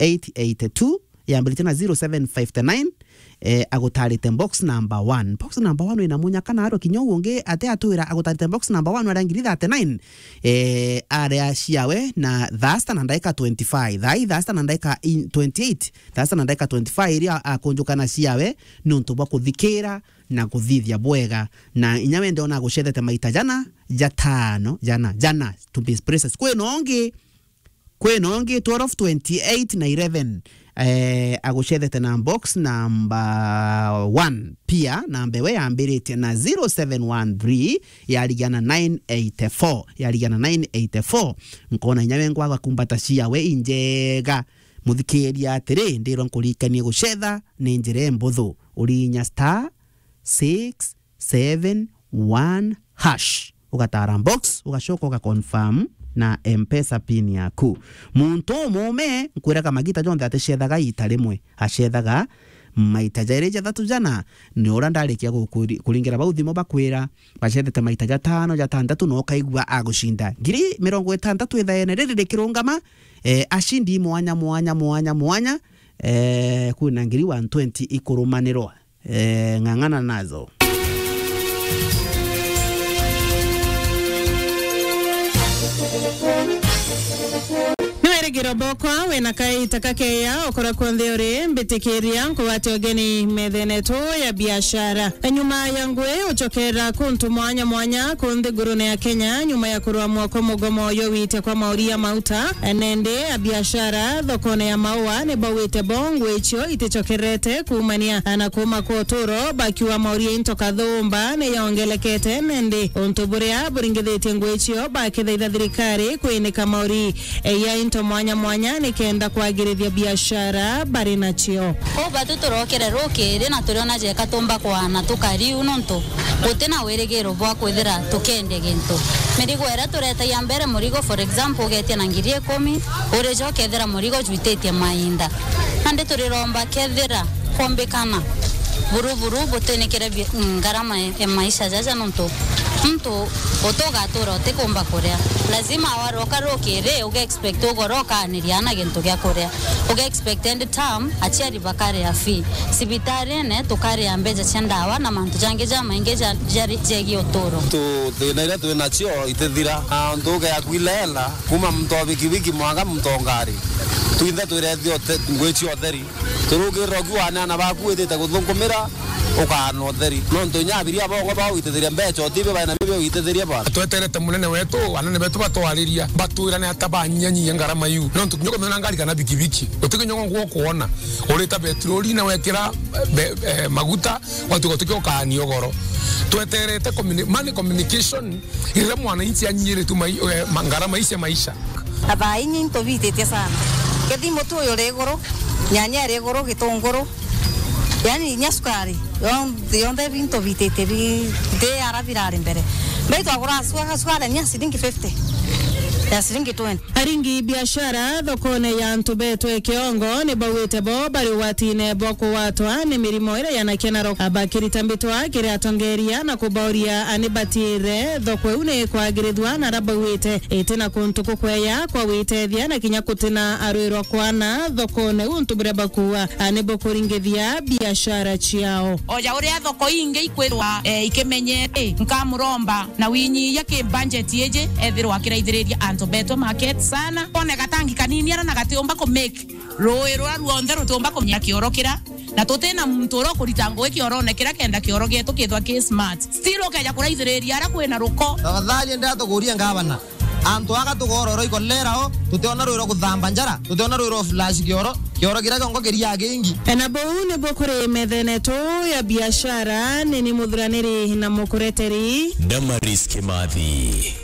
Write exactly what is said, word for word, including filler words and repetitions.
eight eight two, yambiritie na zero seven five nine, eh, agutarite box number one. Box number one wina munya kana arwa kinya uu ungi ati atwira agutarite box number one aria ngiri thirty-nine, eh, aria ciawe na thaa sita na ndaika twenty-five. Thaa ii thaa sita na ndaika in-, twenty-eight, thaa sita na ndaika twenty-five iria akunjukana ciawe niuntu bwa kuthikira na kuthithia bwega. Na inya we ndiona agucethete maita jana, jatano, jana, jana, to be precise. Kwina ungi, kwina ungi twelve, twenty-eight na eleven, eh, agucethete na box number one. Pia namba iwe yambiritie na zero seven one three, yarigia na nine eight four, yarigia na nine eight four. Nkona inya we ngwaga kumbata ciawe injega. Muthikiria atiri, ndirwa nkuririkanie gucetha ni njira imbuthu. Urinya star six seven one hash. Ugatara box, ugacoka ugaconfirm na M-Pesa pin yaku. Muntu umume, nkwiraga magita jonthe aticethaga ita rimwe, acethaga maita jairi jathatu jana. Ni uria ndarikia ku-, kuri-, kuringira bau thimu bakwira, bacethete maita jatano, jatantatu, na ukaigua agucinda ngiri mirongo itantatu ithaene riri rikirungama, eh, acindi mwanya, mwanya, mwanya, mwanya, eh, kwina ngiri one twenty ikurumanirwa. Eh, ng'ang'ana nazo. Ni wirigiro bokwa wina kaita kakeya ukora kwonthe uri, mbitikiria nkugwate ugeni methene tu ya biashara. Nyuma ya ngui ucokera kuntu mwanya mwanya ku nthigurune ya Kenya, nyuma ya kurwa mwako mugomo yo wite kwa mauri ya mauta, nende a biashara thokone ya maua ni bauite bo ngui cio iticokerete kuumania na kuuma kwa uturo, bakiuga mauri ya into kathumba ni yongelekete, nende untu buria buringithitie ngui cio bakithaitha thirikari kwinika mauri ya into mwanya mwanya nikenda kwagirithia biashara bari nacio. Kou batu turokire rukiri na turiona jeka tumba kwana tukariu nontu guti na wirigiro bwa kwithira tukendia gintu. Mirigo iria turetagia mbere murigo, for example, ugetia na ngiri ikumi, urijo ukethira murigo jwititie mainda. Nandi turiromba kethira kwombikana buru buru butinikire bi-, ngarama ya maisha jaja nontu muntu utugatura utikumba kuria. Lazima waroka rukiri uge expect ugoro ukaaniria na gintu gia kuria. Uge expect end term aciari bakaria fee. Cibitarine tukaria mbeca cia ndawa na mantu jangi jamaingi ja-, jari-, jegie uturo. Tu thina iria twi nacio itithira. Na untu uge akuile hela, kuma muntu wa bikibiki mwanka muntu wa ngari. Twinthe twirethio te-, ngwi cia utheri. Turugirira ukiu waneana baku withite guthunkumira, ukaana utheri. Nontu inya abiria bongo bawitithiria mbeca, utibi baina bibio witithiria ba. Tweterete munene wetu, anene betu batwariria, batwirane ata banyanyia ngarama iu. Nontu kinya ukamenya ngari kana bikibiki, utikinya ngwa kuona. Urita betroli na wekira, be-, eh, maguta, watuka tukia ukaania ugoro. Tweterete communi-, money communication, Riria mwananchi anyiritwe mai-, eh, ma-, ngarama ici cia maisha. Na thaa inyi into bititie sana. Kethimo tu uyu ri iguru, nyanya iri iguru, gitunguru, yani inya sukari, yonthe, yonthe binto bititie bi-, nthi ara birari mbere. Mbere twagura sukari, sukari ni ya ciringi fifty, ya ciringi twenty. Aringi biashara thokone ya antu betwe kiongo ni bauite bo bari ugwatine bwa kugwatwa ni mirimo iria yanakia na ro-, bakirita mbitwa kiri atongeria na kubauria ani batire thoko iu ni kwagirithua na ara bauite iti na kuntu kukweya kwa gwitethia na kinya kutina arwirwa kwana thokone untu buria bakuua ani bukuringithia biashara ciao. Oja uria thoko ingi ikwithwa, eh, ikimenyete, nkamuromba na winyiia ki budget iji ethirwa akiraithiriria antu betwe market sana. One gatangi kanini ara na gatiumba ku make rui ruria ruonthe rutiumba kunyia kioro kira, na tutina muntu uria ukurita ngugi kiorone kira kenda kioro gietu kithwa ki smart. Still ukeja kuraithiriria ara kwina ruko. Tafadhali ndira tukuria ngavana, antu aga tugororo ikolera o, tutiona rui rwa kuthamba njara, tutiona rui rwa flash kioro, kioro kiria kiongo kiria kingi. Na buu nibwo kuri methene tu ya biashara, nini muthuraniri na mukureteri. Damaris Kimathi.